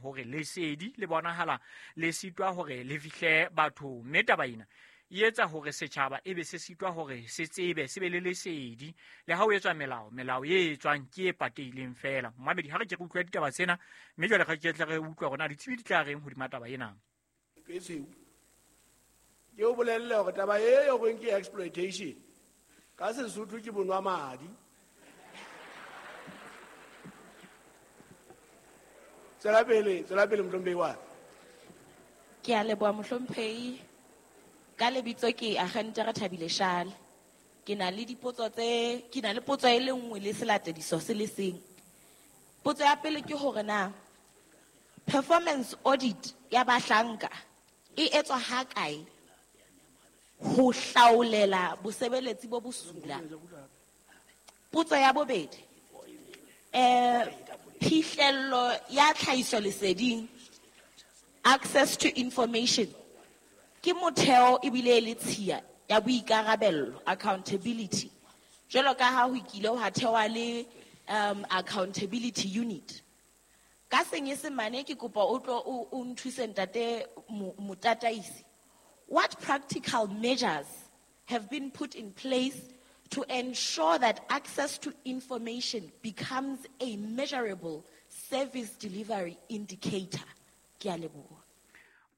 hore lesedi le bonahala le sitwa hore le fihle bathong, mme taba ena e etsa hore setjhaba e be se sitwa hore se tsebe, se be le lesedi. Le ha o etswa melao, melao e etswang ke e patehileng feela. Momamedi, ha re ke re utlwa ditaba tsena, mme jwale re ke tle re utlwe hore na ditsebi di tla reng hodima taba ena. E tshweu. Ke o bolelle hore taba e yo reng ke exploitation ka Sesotho ke bonwa madi. Tswela pele, tswela pele mohlomphehi wa. Ke a leboha mohlomphehi. Ka lebitso ke Agente Rethabile Shale. Ke na le dipotso tse, ke na le potso e le nngwe le selatediso se le seng. Potso ya pele ke hore na performance audit ya bahlanka e etswa ha kae ho hlaolela bosebeletsi bo bosula? Potso ya bobedi, phihlello ya tlhahiso leseding, access to information, ke motheo ebile e le tshiya ya boikarabello, accountability. Jwalo ka ha ho kile hwa thewa le accountability unit. Ka Senyesemane ke kopa o tlo o nthuse ntate motataisi. What practical measures have been put in place to ensure that access to information becomes a measurable service delivery indicator? Ke a leboha.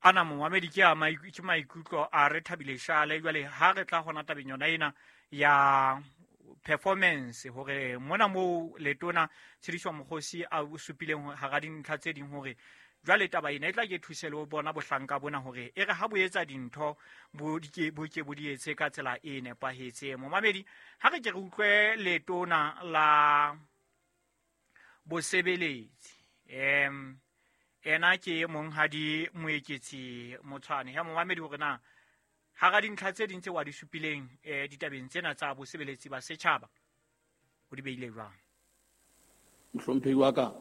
Ana momamedi ke a ke maikutlo a Rethabile Shale. Jwale ha re tla hona tabeng yona ena ya performance, hore mona moo letona Tshediso Mokgosi a supileng hara dintlha tse ding hore jwale taba ena e tla ke thuse le ho bona bohlanka bona hore e re ha bo etsa dintho bo di ke, bo ke bo di etse ka tsela e nepahetseng. Momamedi, ha re ke re utlwe letona la bosebeletsi, ena ke monghadi Moeketsi Motshwane. Ya momamedi hore na hara dintlha tse ding tse wa di supileng, ditabeng tsena tsa bosebeletsi ba setjhaba o di beile jwang? Mohlomphehi wa ka,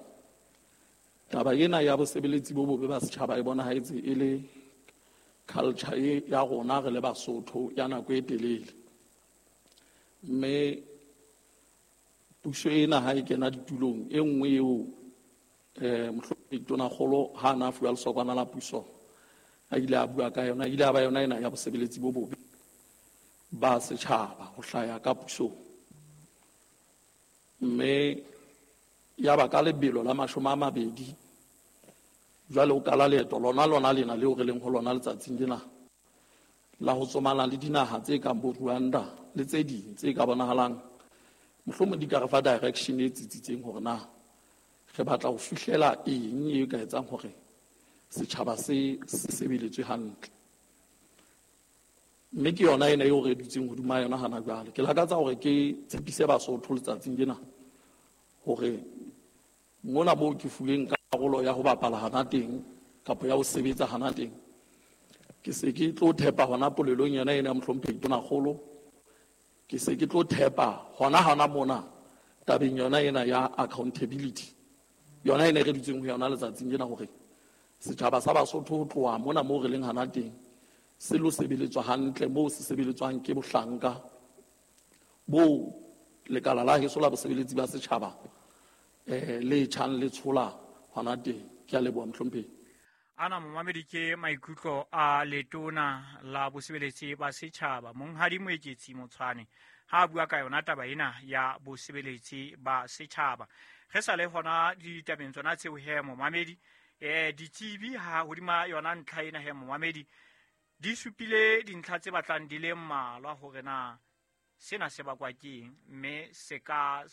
taba ena ya bosebeletsi bo bobe ba setjhaba e bonahetse e le culture e ya rona re le Basotho ya nako e telele. Mme puso ena ha e kena ditulong, e nngwe eo, mohlomphehi Tonakgolo ha a na fuwa lesokwana la puso, a ile a bua ka yona, ile a ba yona ena ya bosebeletsi bo bobe ba setjhaba ho hlaya ka pusong. Mme ya ba ka lebelo la 20, jwale o kala leeto lona lona lena leo re leng ho lona letsatsing lena la ho tsomana le dinaha tse kang bo Rwanda le tse ding tse ka bonahalang mohlomong di ka re fa direction e tsitsitseng hore na re batla ho fihlela eng e ka etsang hore setjhaba se se sebeletswe hantle. Mme ke yona ena eo re dutseng hodima yona hana jwale. Ke lakatsa hore ke tshepise Basotho letsatsing lena hore mona moo ke fuweng karolo ya ho bapala hana teng kapa ya ho sebetsa hana teng, ke se ke tlo thepa hona polelong yona ena ya mohlomphehi Tonakgolo, ke se ke tlo thepa hona hona mona tabeng yona ena ya accountability, yona ena e re dutseng ho yona letsatsing lena, hore setjhaba sa Basotho ho tloha mona moo re leng hana teng se lo sebeletswa hantle moo se sebeletswang ke bohlanka bo lekala la heso la bosebeletsi ba setjhaba, le tjhang le tshola hona teng. Ke a leboha mohlomphehi. Ana momamedi ke maikutlo a letona la bosebeletsi ba setjhaba monghadi Moeketsi Motshwane ha a bua ka yona taba ena ya bosebeletsi ba setjhaba. Re sa le hona ditabeng tsona tseo he momamedi, ditsebi ha hodima yona ntlha ena he momamedi di supile dintlha tse batlang di le mmalwa hore na sena se bakwa ke eng, mme se ka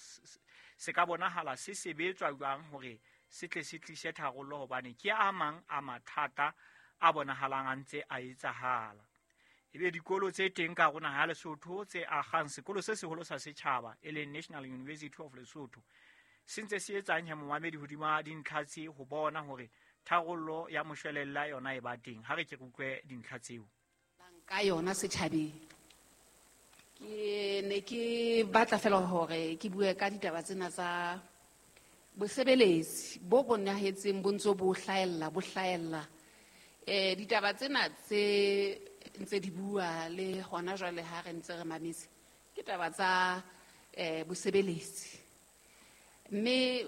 bonahala se sebetswa jwang hore se tle se tlise tharollo, hobane ke a mang a mathata a bonahalang a ntse a etsahala. Ebe dikolo tse teng ka rona ha Lesotho tse agang sekolo se seholo sa setjhaba e leng National University of Lesotho se ntse se etsang he momamedi hodima dintlha tse ho bona hore tharollo ya moshwelella yona e ba teng. Ha re ke re utlwe dintlha tseo. Ka yona setjhabeng. Ke ne ke batla fela hore ke bue ka ditaba tsena tsa bosebeletsi bo bonahetseng bo ntse bo hlahella, bo hlahella. Ditaba tsena tse ntse di bua le hona jwale ha re ntse re mametse, ke taba tsa bosebeletsi. Mme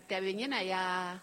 tabeng ena ya